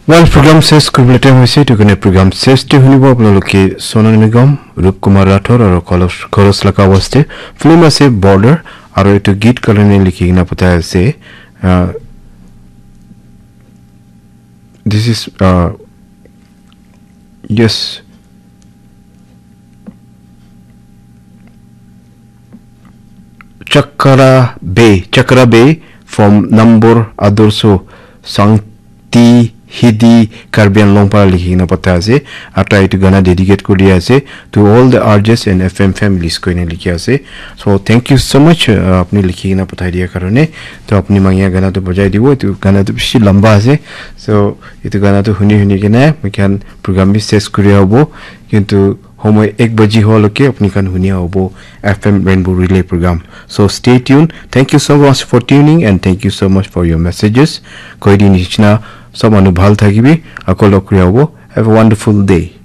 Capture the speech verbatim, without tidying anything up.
Well, program ses kuribole time hoise, etu karne program ses te hunibo apnaloke Sonu Nigam, Rup Kumar Rathore aru Kolos, Kolos laga awaaz te film ase Border aru etu geet karne likhi kena pathai ase. Uh, this is, uh, yes. Chakra Bay, Chakra Bay from Nambor Adorso Sangti Hidi Karbi Anglong para likhi kena pathai ase. Aru tai etu gana dedicate kuri ase to all the R Js and F M families koina likhi ase. So thank you so much, uh, apni likhi kena pathai dia karone. To apni mangia gana to bajai dibo. Etu gana to bishi lamba ase. So etu gana to huni huni kena moi khan program bi ses kuri hobo. Kintu homoi ek baji hoa loke apni khan hunia hobo F M Rainbow Relay program. So stay tuned. Thank you so much for tuning and thank you so much for your messages. Koi di nishina sob manu bhal thakibi, ako log kuria hobo. Have a wonderful day.